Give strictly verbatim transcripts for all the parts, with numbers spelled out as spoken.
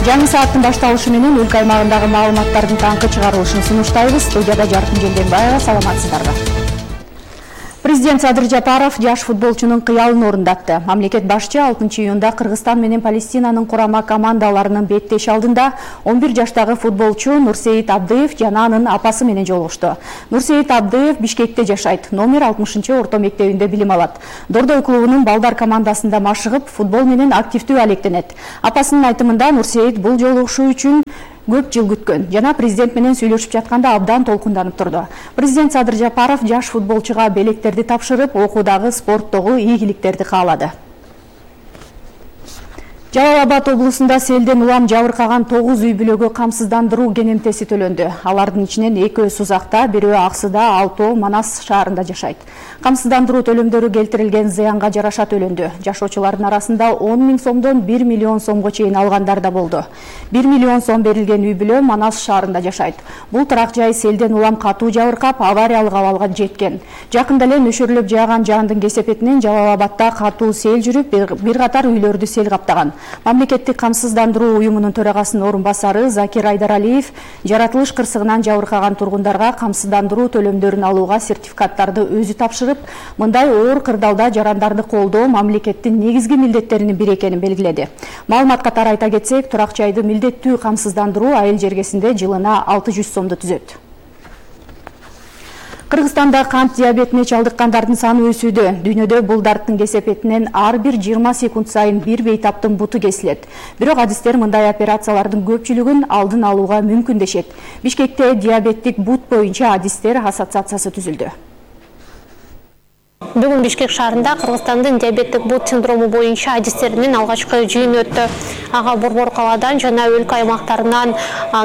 Жаңы сааттын башталышы менен өлкө аймагындагы маалыматтардын таңкы чыгарылышын сунуштайбыз. Студияда Жаркын Желденбаева, саламатсыздарбы. Президент Садыр Жапаров жаш футболчунун кыялын орундатты. Мамлекет башчы алтынчы июнда Кыргызстан менен Палестинанын курама командаларынын беттеш алдында он бир жаштагы футболчу Нурсейит Абдыев жана анын апасы менен жолугушту. Нурсейит Абдыев Бишкекте жашайт, номер алтымышынчы орто мектебинде билим алат. Дордой клубунун балдар командасында машыгып, футбол менен активдүү алектенет. Апасынын айтымында Нурсейит бул жолугушуу үчүн көп жыл күткөн жана президент менен сүйлөшүп жатканда абдан толкунданып турду. Президент Садыр Жапаров жаш футболчуга белектерди тапшырып, окуудагы, спорттогу ийгиликтерди каалады. Жалал Абад облусунда селден улам жабыркаган тогуз үй бүлөгө камсыздандыруу кенемтеси төлөндү. Алардын ичинен экөө Сузакта, бирөө Аксыда, алтоо Манас шаарында жашайт. Камсыздандыруу төлөмдөрү келтирилген зыянга жараша төлөндү. Жашоочулардын арасында он миң сомдон бир миллион сомго чейин алгандар да болду. бир миллион сом берилген үй бүлө Манас шаарында жашайт. Бул тарак жай селден улам катуу жабыркап, авариялык абалга жеткен. Жакында эле нөшөрлөп жааган жаандын кесепетинен Жалал Абадда катуу сел жүрүп, бир катар үйлөрдү сел каптаган. Мамлекеттик камсыздандыруу уюмунун төрагасынын орун басары Закир Айдаралиев жаратылыш кырсыгынан жабыркаган тургундарга камсыздандыруу төлөмдөрүн алууга сертификаттарды өзү тапшырып, мындай оор кырдаалда жарандарды колдоо мамлекеттин негизги милдеттеринин бири экенин белгиледи. Маалымат катары айта кетсек, турак жайды милдеттүү камсыздандыруу айыл жергесинде жылына алты жүз сомду түзөт. Кыргызстанда кант диабетине чалдыккандардын саны өсүүдө. Дүйнөдө бул дарттын кесепетинен ар бир жыйырма секунд сайын бир бейтаптын буту кесилет. Бирок адистер мындай операциялардын көпчүлүгүн алдын алууга мүмкүн дешет. Бишкекте диабеттик бут боюнча адистер ассоциациясы түзүлдү. Бүгүн Бишкек шаарында Кыргызстандын диабеттик бут синдрому боюнча адистеринин алгачкы жыйыны өттү. Ага Борбор калаадан жана өлкө аймактарынан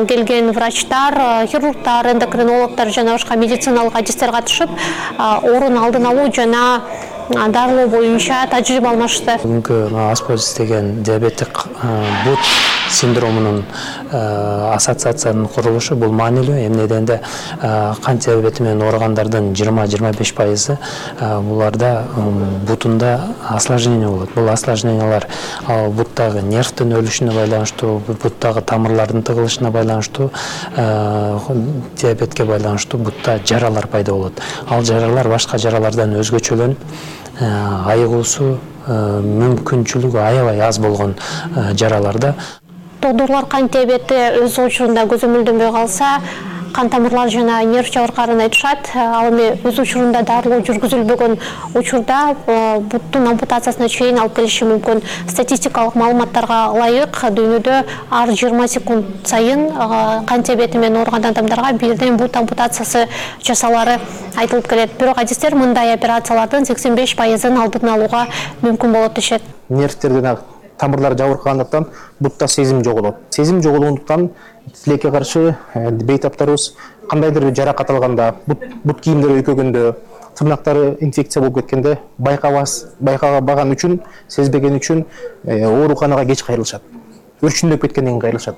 келген врачтар, хирургтар, эндокринологдор жана башка медициналык адистер катышып, оорунун алдын алуу жана дарылоо боюнча тажрыйба алмашты. Бүгүнкү Аспоз деген диабеттик бут синдромунун ассоциациянын курулушу бул маанилүү. Эмне дегенде кант диабети менен ооругандардын жыйырма жыйырма беш пайызы буларда бутунда осложнение болот. Бул осложнениялар буттагы нервдин өлүшүнө байланыштуу, буттагы тамырлардын тыгылышына байланыштуу, диабетке байланыштуу бутта жаралар пайда болот. Ал жаралар башка жаралардан өзгөчөлөнүп, айыгуусу мүмкүнчүлүгү аябай аз болгон жараларда. Доктурлар кант диабети өз учурунда көзөмөлдөнбөй калса, кан тамырлар жана нерв жабыркаарын айтышат. Ал эми өз учурунда дарылоо жүргүзүлбөгөн учурда буттун ампутациясына чейин алып келиши мүмкүн. Статистикалык маалыматтарга ылайык, дүйнөдө ар жыйырма секунд сайын кант диабети менен ооруган адамдарга бирден бут ампутациясы жасалары айтылып келет. Бирок адистер мындай операциялардын сексен беш пайызын алдын алууга мүмкүн болот дешет. Нервтерден тамырлар жабыркагандыктан бутта сезим жоголот. Сезим жоголгондуктан тилекке каршы бейтаптарыбыз кандайдыр бир жаракат алганда, бут бут кийимдери өйкөгөндө, тырнактары инфекция болуп кеткенде байкабас, байкабаган үчүн, сезбеген үчүн ооруканага кеч кайрылышат. Өрчүндөп кеткенден кийин кайрылышат.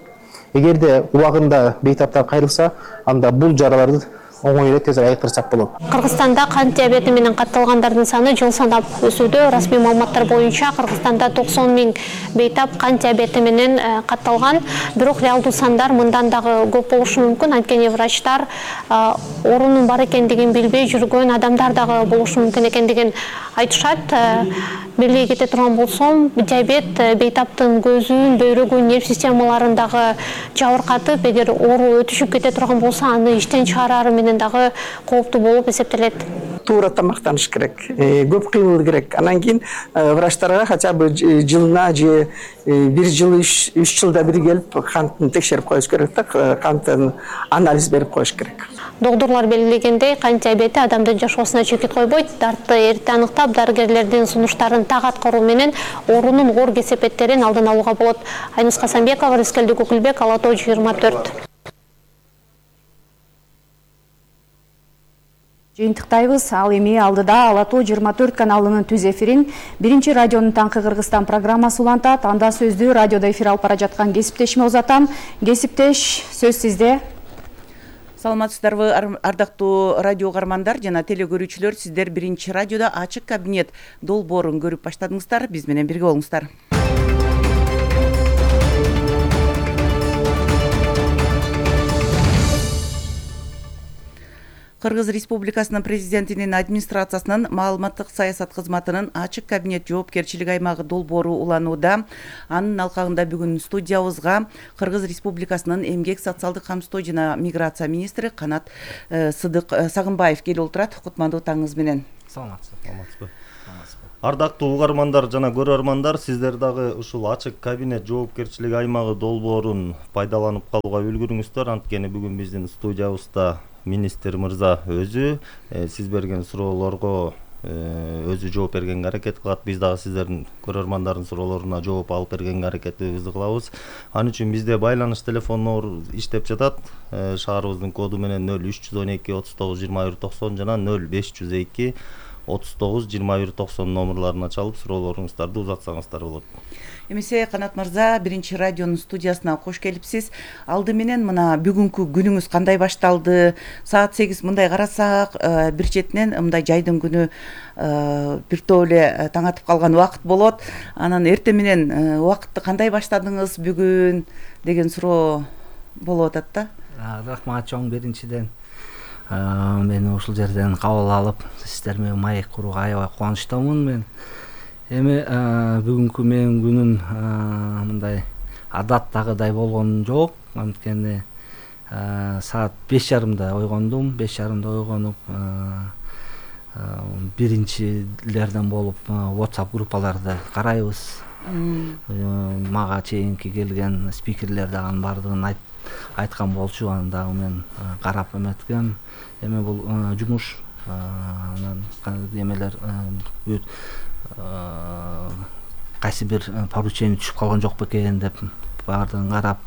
Эгерде убагында бейтаптар кайрылса, анда бул жараларды оңой эле тез айыктырсак болот. Кыргызстанда кант диабети менен катталгандардын саны жыл санап өсүүдө. Расмий маалыматтар боюнча Кыргызстанда токсон миң бейтап кант диабети менен катталган. Бирок реалдуу сандар мындан дагы көп болушу мүмкүн. Анткени врачтар оорунун бар экендигин билбей жүргөн адамдар дагы болушу мүмкүн экендигин айтышат. Белги кете турган болсом, диабет бейтаптын көзүн, бөйрөгүн, нерв системаларындагы жабыркатып, эгер оору өтүшүп кете турган болсо, аны иштен чыгарары менен дагы кооптуу болуп эсептелет. Туура тамактаныш керек, көп кыймыл керек. Анан кийин врачтарга хотя бы жылына же бир жыл, үч жылда бир келип кантын текшерип коюш керек да, канттын анализ берип коюш керек. Доктурлар белгилегендей, кант диабети адамдын жашоосуна чекит койбойт. Дартты эрте аныктап, дарыгерлердин сунуштарын так аткаруу менен оорунун оор кесепеттерин алдын алууга болот. Айнус Касамбекова, Рыскелди Көкүлбек, Алатоо жыйырма төрт. Жыйынтыктайбыз. Ал эми алдыда Алатоо жыйырма төрт каналынын түз эфирин биринчи радионун Таңкы Кыргызстан программасы улантат. Анда сөздү радиодо эфир алып бара жаткан кесиптешиме узатам. Кесиптеш, сөз сизде. Саламатсыздарбы, ардактуу радио угармандар жана телекөрүүчүлөр, сиздер биринчи радиодо ачык кабинет долбоорун көрүп баштадыңыздар. Биз менен бирге болуңуздар. Кыргыз Республикасынын президентинин администрациясынын маалыматтык саясат кызматынын ачык кабинет жоопкерчилик аймагы долбоору уланууда. Анын алкагында бүгүн студиябызга Кыргыз Республикасынын эмгек социалдык камсыздоо жана миграция министри Канат Сыдык Сагынбаев келип отурат. Кутмандуу таңыңыз менен. Саламатсызбы. Ардактуу угармандар жана көрөрмандар, сиздер дагы ушул ачык кабинет жоопкерчилик аймагы долбоорун пайдаланып калууга үлгүрүңүздөр. Анткени бүгүн биздин студиябызда министр мырза өзү сиз берген суроолорго өзү жооп бергенге аракет кылат. Биз дагы сиздердин көрөрмандардын суроолоруна жооп алып бергенге аракетибизди кылабыз. Ал үчүн бизде байланыш телефондору иштеп жатат. Шаарыбыздын коду менен нөл үч жүз он эки отуз тогуз жыйырма бир токсон жана нөл беш жүз эки отуз тогуз жыйырма бир токсон номерларына чалып суроолоруңуздарды узатсаңыздар болот. Эмесе Канат мырза, биринчи радионун студиясына кош келипсиз. Алды менен мына бүгүнкү күнүңүз кандай башталды? Саат сегиз мындай карасак, бир четинен мындай жайдын күнү бир топ эле таң атып калган убакыт болот. Анан эртең менен убакытты кандай баштадыңыз бүгүн деген суроо болуп атат да. Рахмат чоң, биринчиден мени ушул жерден кабыл алып, сиздер менен маек курууга аябай кубанычтамын мен. Эми бүгүнкү менин күнүм мындай адаттагыдай болгон жок. Анткени саат беш жарымда ойгондум. беш жарымда ойгонуп, биринчилерден болуп WhatsApp группаларды карайбыз. Мага чейинки келген спикерлер дагы бардыгын айткан болчу. Аны дагы мен карап эметкем. Эми бул жумуш, анан эмелер кайсы бир поручение түшүп калган жок бекен деп баардыгын карап,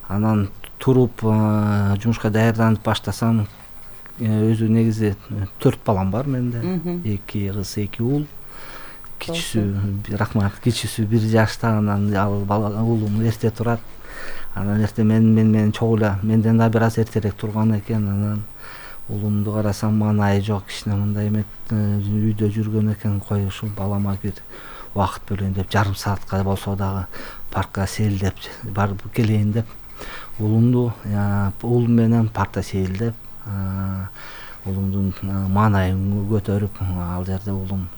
анан туруп жумушка даярданып баштасам, өзү негизи төрт балам бар менде. эки кыз, эки уул. Кичүүсү, рахмат, кичүүсү бир жашта, анан ал уулум эрте турат. Анан эрте мен менен чогуу эле, менден да бир аз эртерээк турган экен. Анан уулумду карасам, маанайы жок, кичине мындай эмет үйдө жүргөн экен. Кой ушул балама бир убакыт бөлөйүн деп, жарым саатка болсо дагы паркка сейилдеп барып келейин деп, уулумду уулум менен паркта сейилдеп, уулумдун маанайын көтөрүп, ал жерде уулум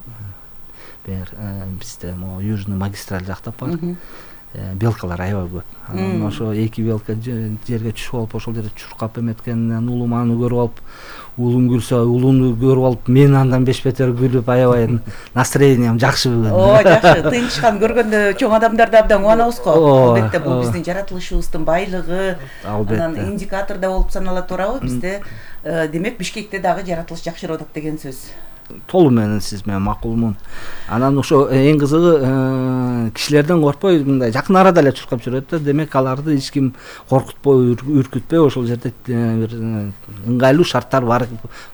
бизде могу южный магистраль жакта бар. Белкалар аябай көп. Анан ошо эки белка жерге түшүп алып, ошол жерде чуркап эметкенинен уулум аны көрүп алып, уулум күлсө, уулумду көрүп алып, мен андан беш бетер күлүп, аябай настроением жакшы бүгүн. О, жакшы. Тынчкан көргөндө чоң адамдарды абдан кубанабыз го. Албетте бул биздин жаратылышыбыздын байлыгы, анан индикатор да болуп саналат турабы? Бизде демек Бишкекте дагы жаратылыш жакшырап атат деген сөз. Толу менен сиз менен макулмун. Анан ошо эң кызыгы, кишилерден коркпой, мындай жакын арада эле чуркап жүрөт да. Демек аларды эч ким коркутпой, үркүтпөй, ошол жерде бир ыңгайлуу шарттар бар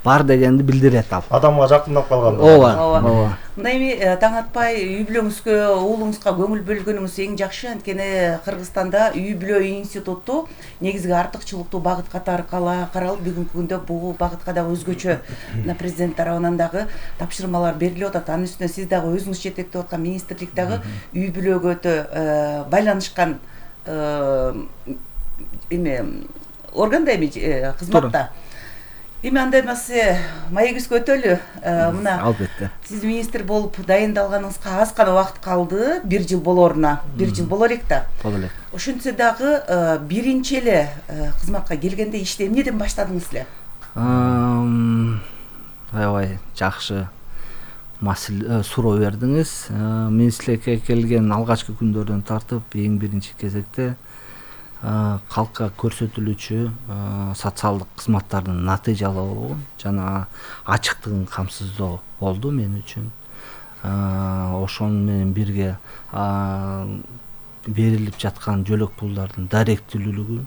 бар дегенди билдирет ал. Адамга жакындап калган. Ооба, ооба. Мындай эми таң атпай үй бүлөңүзгө, уулуңузга көңүл бөлгөнүңүз эң жакшы. Анткени Кыргызстанда үй бүлө институту негизги артыкчылыктуу багыт катары каралып, бүгүнкү күндө бул багытка дагы өзгөчө мына президент тарабынан дагы тапшырмалар берилип атат. Анын үстүнө сиз дагы өзүңүз жетектеп аткан министрлик дагы үй бүлөгө өтө байланышкан эме органда эми кызматта. Эми андай эмесе маегибизге өтөлү. Мына албетте. Сиз министр болуп дайындалганыңызга аз гана убакыт калды, бир жыл болоруна. бир жыл боло элек да. Боло элек. Ошентсе дагы биринчи эле кызматка келгенде ишти эмнеден баштадыңыз эле? Аябай жакшы маселе суроо бердиңиз. Министрликке келген алгачкы күндөрдөн тартып, эң биринчи кезекте калкка көрсөтүлүүчү социалдык кызматтардын натыйжалуулугу жана ачыктыгын камсыздоо болду мен үчүн. Ошону менен бирге берилип жаткан жөлөк пулдардын даректүүлүгү,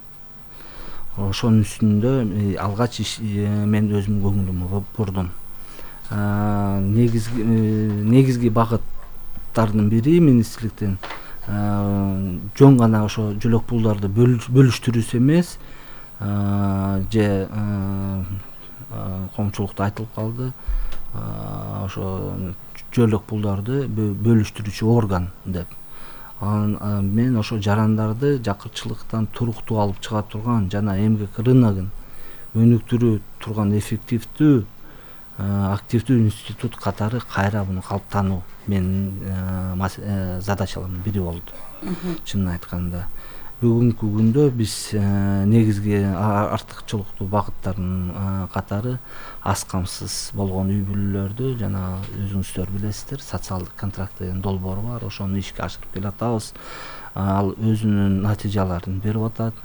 ошонун үстүндө алгач мен өзүм көңүлүмө бурдум. Негизги негизги багыттардын бири министрликтен жөн гана ошо жөлөк пулдарды бөлүштүрүүсү эмес, же коомчулукта айтылып калды, ошо жөлөк пулдарды бөлүштүрүүчү орган деп. Мен ошо жарандарды жакырчылыктан туруктуу алып чыга турган жана эмгек рыногун өнүктүрө турган эффективдүү активдүү институт катары кайра муну калыптануу менин задачаларымдын бири болду. Чынын айтканда бүгүнкү күндө биз негизги артыкчылыктуу багыттардын катары аз камсыз болгон үй бүлөлөрдү жана өзүңүздөр билесиздер, социалдык контракт деген долбоору бар, ошону ишке ашырып келатабыз. Ал өзүнүн натыйжаларын берип атат.